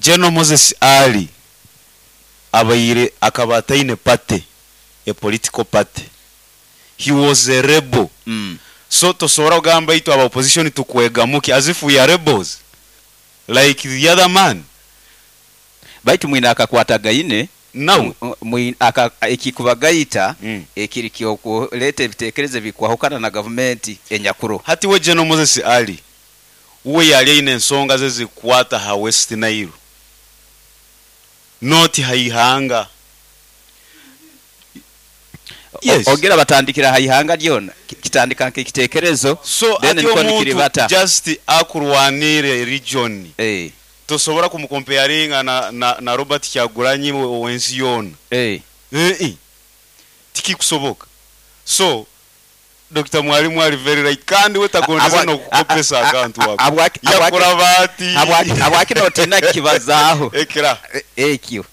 General Moses Ali abaire akaba ataine party, a political party. He was a rebel. So tosobora kugamba itwe aba opposition tukwegamu ki as if we are rebels like the other man. Baitu mwine akakwatagaine Nawe. Ekikubagaita ekiri ky'okuleeta ebiteekerezo ebikwahukana na gavumenti enyakuroho. Hati we General Moses Ali uwe yali aine ensonga ze ezikukwata ha West Nile not ha ihanga. Yes. Ogira batandikira ha ihanga lyona, kitandika nk'ekiteekerezo So then hati nikwo omuntu nikiribata. just akurwanire region tosobora kumukomparinga na Robert Kyagulanyi owensi yoona. Eeh tikikusoboka. So Dokita Mwalimu ali very right kandi we tagondeze nokukopesa akantu ako. Yakuraba ati. Habwaki notiina kukibazaaho Ekira. Ekyo?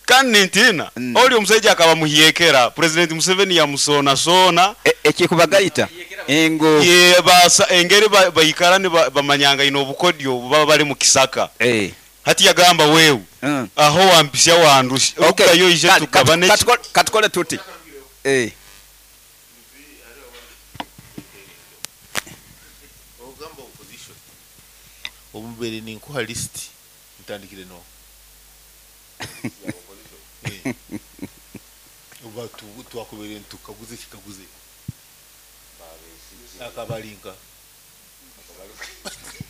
Kandi nintiina oli omusaija akaba muhyekera President Museveni yamusoonasoona. Ekikubagaita ngu. Ye basa engeri baikara nibamanyangaine obukodyo baba bali mukisaka. Hati yagamba wewe aho wampisya wandusya rugayo oije tugabane ki. Katukole tuti. Ogamba opposition obu mbaire ninkuha list ntandikire noha? Oba twakubaire nitukaguza ekikaguzo eki akaba ari nka?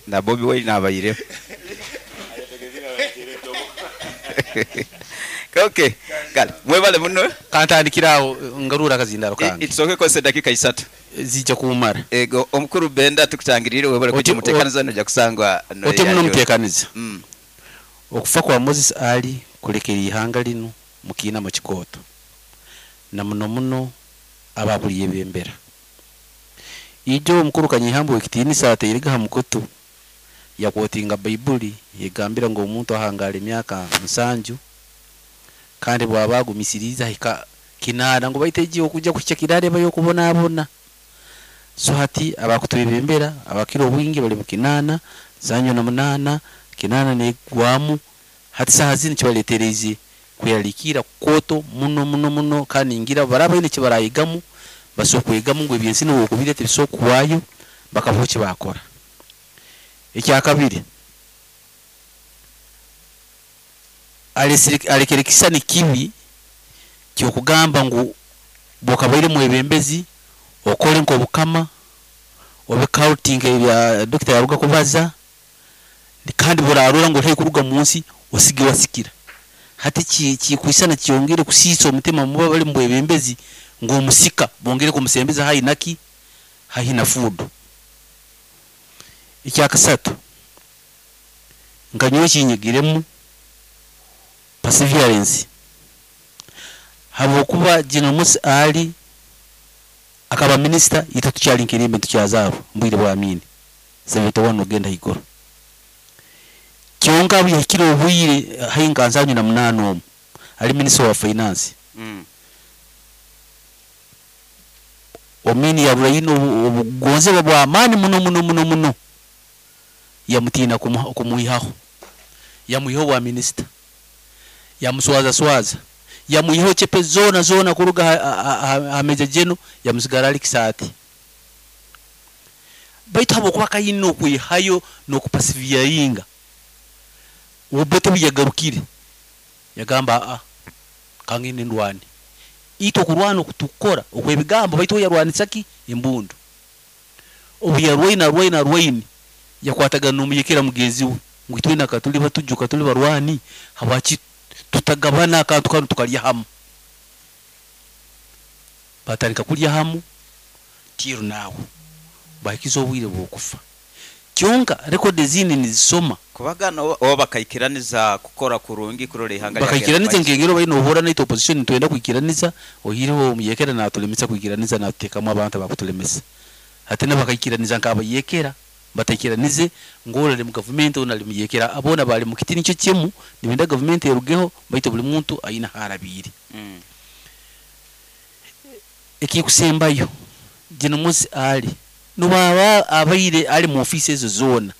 Na Bobi Wine abaireho. Okay, kale mwebale muno. Kantandikire aho ngarure akazindaaro kange. Tusooke kukozesa edakiika isatu. Ziija kumara. Ego, omukuru Benda tukutangiriire webale kwija omuteekaniza noija kusangwa Ote muno omuteekaniza. Okufa kwa Moses Ali kulekere ihanga linu mukiinamo kikooto na muno muno abakulyebembera. Ijo omukuru Kanyeihamba ow'ekitiinisa atairege ha mukutu yakwotinga Baibuli egambira ngu omuntu ahangaara emyaka 70 kandi bwaba agumisiriize ahika 80 ngu baitu egi okuja kuhikya 80 eba y'okubonabona. So hati abakutwebembera abakira obwingi bali mu 80, 78, 80 negwamu hati saaha zinu kibaleetereize kweralikirra kukooto muno muno muno kandi ningira baraba baine ekibarayegamu basobora kwegamu ngu ebyensi obu okubirya tibisobora kuhwayo bakabaho ekibakora. Ekyakabiri, alekere ekisisani kibi ky'okugamba ngu bw'okabaire mwebembezi okole nk'obukama obe cult nk'ebya dokita yaruga kubaza kandi bw'orarora ngu oli haihi kuruga munsi osige wasikira. Hati kikwisana kyongere kusiisa omutima mubo abali mubwebembezi ngu omusika bongere kumusembeza haihi naki? Haihi na fuudu. Ekyakasatu, nka nyowe ekinyegiremu perseverance habwokuba General Musa Ali akaba minisita itwe tukyali nkirimbi nitukyazaarwa mubwire bwa Amin 71 okugenda haiguru. Kyonka obu yahikire obwire haihi nka 78 omu ali minisita wa finance. Amin yarora aine obugonzebwa bw'amaani muno muno muno muno yamutiina kumwihaho. Yamwihaho obwa minisita, yamuswazaswaza, yamwihaho chepe zoona zoona kuruga ha Major General yamusigara ali kisaati. Baitu habwokuba akaine okwihayo n'okupasiviyaringa, Obote obu yagarukire yagamba aa kangende ndwane. Itwe okurwana oku tukukora okw'ebigambo baitu uwe yarwanisa ki? Embundu. Obu yarwaine arwaine arwaine yakwatagana n'omuyekera mugenzi we ngu itwena ka tuli batuju ka tuli barwani habwaki tutagabana akantu kanu tukalya hamu. Batandika kulya hamu till now bahikize obwire bw'okufa. Kyonka rekodi ezindi nizisoma. Kubagana oba bakaikiraniza kukora kurungi kurora ihanga lyagenda Bakaikiraniza mumaiso. nk'engeri obaire nohurra naitwe opposition nitwenda kwikiraniza oihireho omuyekera natulemesa kwikiraniza natutekamu abantu abakutulemesa. Hati nabo bakaikiraniza nk'abayekera bataikiranize ngu oli ali mu gavumenti onu ali muyekera boona bali mu kiti nikyo kimu nibenda gavumenti erugeho baitu buli muntu aine harabiire. Ekikusembayo General Moses Ali nobwaba abaire ali mu ofiisi ezo zoona